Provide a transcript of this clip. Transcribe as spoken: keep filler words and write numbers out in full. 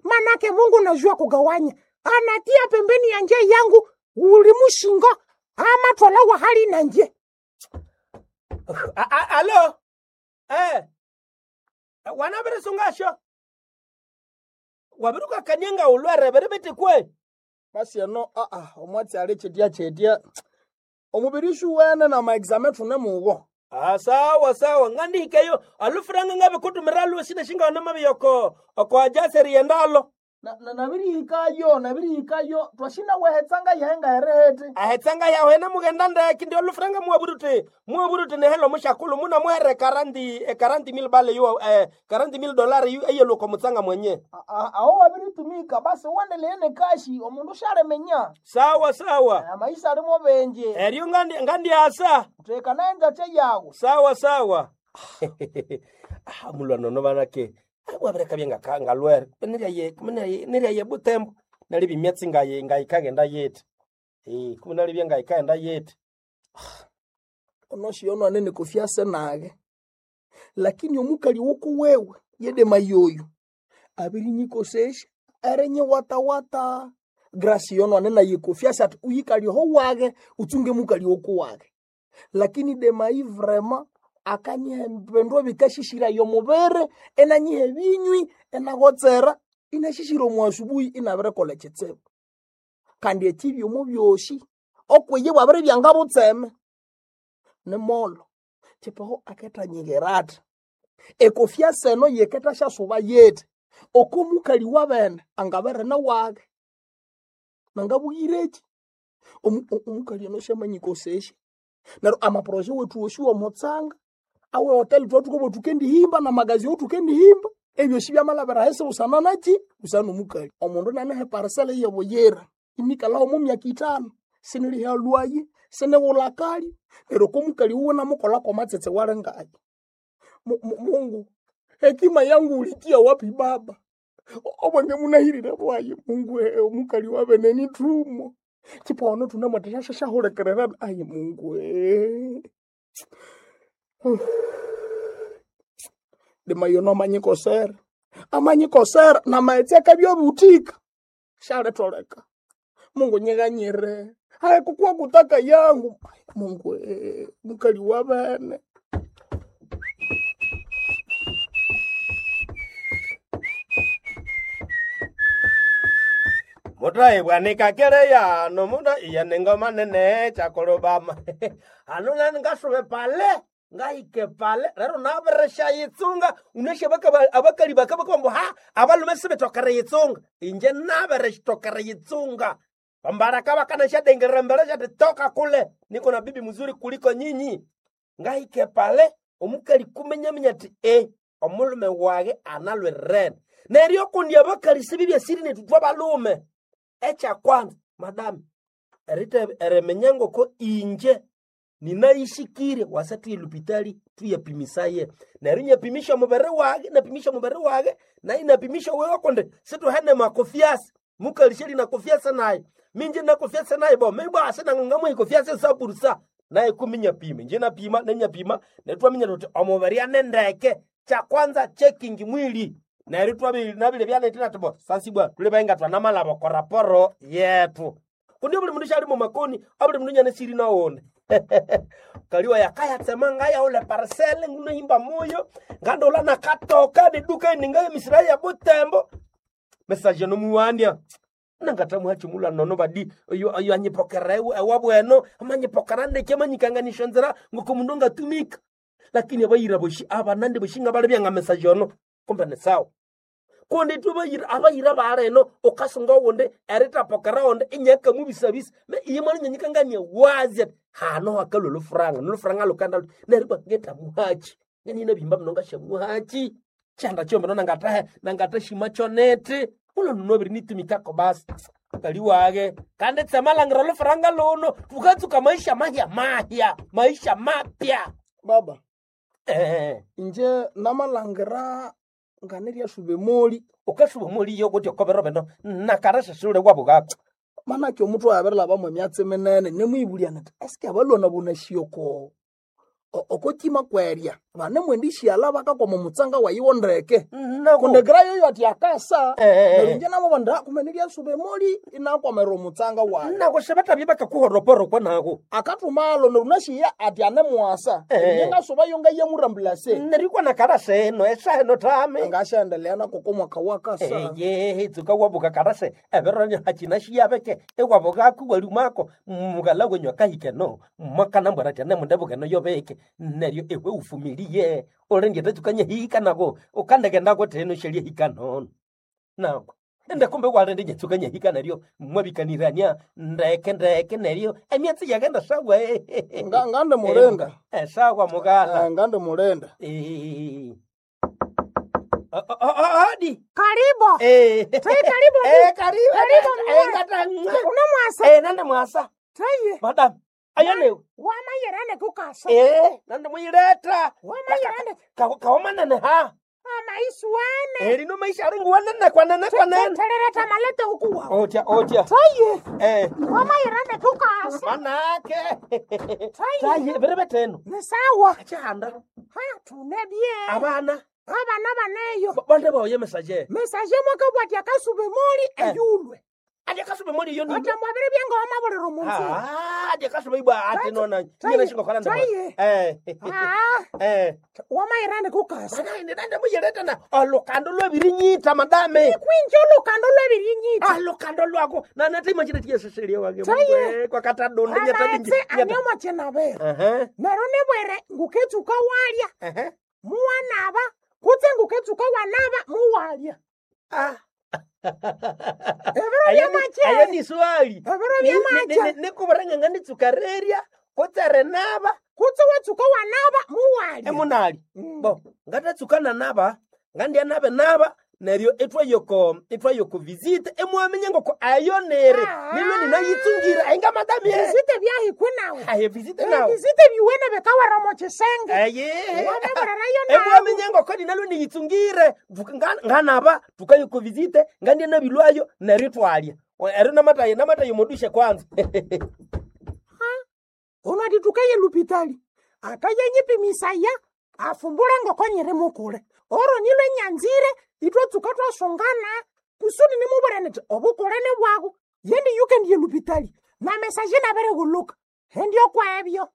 Manake Mungu najua kugawanya. Anatia pembeni ya nje yangu ulimushingo ama twalawa hali na nje. Alo. Eh. Wanabere sungasho. Wabiruka kanianga ulwere berebete kwe. Basi eno aa omwatsi ali chetya chetya omubiri shuwene na maexame thune mugo. Ah, sawa sawa ngandihikeyo alufuranga ngabe kutumira lwesine shinga na mabiyoko oko ajaseri yendalo Na- na- nabirihikayo nabirihikayo twashina wehetsanga yehenga herehete ahetsanga yawe na mugenda ndeki ndio lufuranga muwaburuti muwaburuti nehelo mushakulu muna muhere karanti eh, karanti mil bale yu eh, karanti mil dolari yu eyeluko mutsanga mwenye A- a- aho wabiritumika basi uwendeleye nekashi omundu shalemenya sawa sawa amaisha alimo benje eryo ngandi ngandiasa teka naenzache yawe sawa sawa ah mulwa nono banake wabireka byenga ngalwere niryaye niryaye butembo nali bimyatsi ngaye ngayikagenda yete eh kumbe nali byengayikaenda yete onoshiyono anene kofiase nage lakini omukali woko wewe yedema yoyo abirinyikosesha erenye watawata grasi yono anene yikofiase ati uyikali ho wage utsunge mukali woko wage lakini demai vrema akanyihe mpendwa bikashishira yomubere enanyihe binywi enagotsera inashishira omu asubuhi inabirekola ekitsibu kandi ekibyomo byosi okweye bwabere byanga butseme nimolo chipaho aketanyigherata ekofya seno yeketa syasuba yete oko mukali wabene angaberene wage nangabugireki Omu- o- omukali ono syamanyikosesya neryo amaproje wethu wosi womutsanga awe hoteli twathukobo thukendihimba namagazi othukendihimba ebyosi byamalabira hesi busana naki busana nomukali omundu nanehe parisele yebuyira inikalaho mu myaka itano siniliha lwayi siniwulakali neryo komukali wuwe namukolako matsetse walingayi Mu- mu- Mungu hekima yangu ulitia wapi baba obwange munahirire bwayi Mungu eh, omukali wabene nithumo chipono thunemwatashashahulekerera ayi Mungu eh. Lima yono amanyikosera amanyikosera namaetse akabyabuthika shaletoleka Mungu nyiganyire haikukuwa kutaka yangu Ai, Mungu eh, mukali wabene mutaibwanika keleya nomuta iya nengoma nene chakolobama anu nani ngasuve pale ngaike pale lero nabirisha yitsunga uneshe bakaba- abakali bakabakabambo ha abalume sibitokere yitsunga inje nabirishitokere yitsunga bambaraka bakanashadengerera mbele shati toka kule niko na bibi mzuri kuliko nyinyi ngaike pale omukali kumenyamenya ti e omulume wage analwerene neryo kundi abakali sibibyasiri netutwa balume ekyakwanza madam erite eriminya ngoko inje ninayishikire wasa tuye lupitali tuyapimisaye neryo nyapimisha omubiri wage napimisha omubiri wage naye napimisha wewe kundi situhene makofiasi mukalisheli nakofiasi naye minje nakofiasi naye bo mibwase nangangamuhikofiasi sapurusa naye kumi nyapima nje napima nenyapima netwaminya tuti omubiri anendeke kyakwanza checking mwili neryo twabili nabili byanetena tibo sasibwa tuli bainga twanamalabo koraporo yetu kundi buli mundu shali mumakoni abuli mundu nyane siri nawone kaliwa yakayatsema ngayaula parcele ngunohimba moyo ngandola nakatoka niduka ningaye misira ya butembo mesaje nomuwandya nangatamuhachimula nono badi oyo oyo anyipokera ewe ewabweno amanyipokera ndeke amanyikanganisha nzira ngoko mundu angatumika lakini abayira boshi abanande boshinga bali byanga mesaje ono kumbe ni sawa kundi tubayira abayira bareno ukasunga wundi eritapokera wundi inyaka mubisabisa me iye mwana nyanyikangania wazi ati hano hakalwa lufuranga nolufuranga lukanda luti neryo ngeta muhachi ngenina bimba mino ngashamuhachi chanda chombe no nangatahe nangatashima chonete ulo nunobiri nitumikako basi kali wage kandi tsemalangira lufuranga luno tukatsuka maisha mahya mahya maisha mapya baba eh inje namalangira nganiryasuba emoli ukashuba muliyo kuti okobero beno nakarashashule kwabukako manake omutu abirilhabamu emyatsi minene nemwibulyana ati eske abalwana bunashioko okotima kwerya Vanemwendishyala vakakwama omutsanga wayiwo ndeke. Nako. Kundi grayo ati akasa. Eh, eh, eh. Neryo inje nabo banda kumene lyasuba emoli inakwamira omutsanga wayo. Nako sebatabye bakakuhoroporokwa nako. Akathumalo neryo nashiya ati anemuwasa. Eh. Inje ngasuba yo ngayemurambulase. Nerikwa nakarase eno esaheno tame. Ngashaendelea nako komwaka wakasa. Eye tsuka wabuka karase ebero hachina shiyabeke ewabuka kuwalumako mugala wenyu akahike no makana mbwara tene mundebukeno yobeke neryo ewe ufumilie olengete tsukanye hika nako ukandekendako teno shelie hika nono nako ende kumbe walende nyatsukanye hika neryo mwabikanirania ndeke ndeke neryo emyatsi yakenda sawa Nga- ngande mulenda. Eh, sawa mugala Eh, ngande mulenda. Eh. Oh, oh, oh, odi Karibu. Eh. Tayi karibu. Eh, karibu. Karibu, Eh, mwa. ngata. Unamwasa. Eh, nande mwasa. Tayi. Madam. Ayo leo. Wamayirane kukasa. Eh, nande mwileta. Wamayirane. Ka kaomanene ha. Amaisuane. Eh, lino maisha aringu wanene kwa nene kwa nene. Terereta malete huku wao. Otya, otya. Tayi. Eh. Wamayirane kukasa. Manake. Tayi. Tayi, berebe teno. Ni sawa. Achihanda. Ha, tunebye. Abana. Abana baneyo. Ba- Bande baoye message. Mesaje mwaka bwati akasube moli eyulwe. Adi akasube moli yo ni. Ata mwabere byenga wamabuliro munsi. Ah, adi akasube ibwa ati nona. Tayi. Nyina shingo kalanda. Tayi. Eh. Ah, Eh. wamayirane kukasa. Mana nende muyeleta na olukando lwebirinyita madame. Kwinja olukando lwebirinyita. Alukando lwako nanatima chine chiyeseseliya wake Tayi. kwakatadonde Amaetse anyomo chenabera. Ehe, Nero nibwere nguketsuka walya. ehe. Muwanaba. Kutse nguketsuka wanaba muwalya. Ah. Ebiro Ayo ni- byamache. ayo ni swali Ebiro Ni- ni- byamache. ni- nikuburenga nganditsukareria kutsere naba Kutse watsuka wanaba muwalya. emunali Mm. bo ngatatsukana naba ngandya nabe naba neryo itwayoko itwayoko visite emwamenye ngoko ayo nere Ah. nilo ninayitsungira ainga madamie Visite byahikwe nawe. aye visite nawe Visite biwene bekawara mu kisenge. aye Wamabulirayo nawe. emwamenye ngoko ninalo niyitsungire Tuka- nga- nganaba tukayoko visite ngandya nabilwayo neryo twalya ero namataye namataye modushe kwanza Unatitukaye lupitali akayenyipimisaya afumbula ngoko nyiri mukule oro nilo nyanzire itwe tsuka twasungana kusudi nimubwira niti obukule ni bwaku yendi yukendiye lupitali na mesaje nabere guluka hendio kwebyo.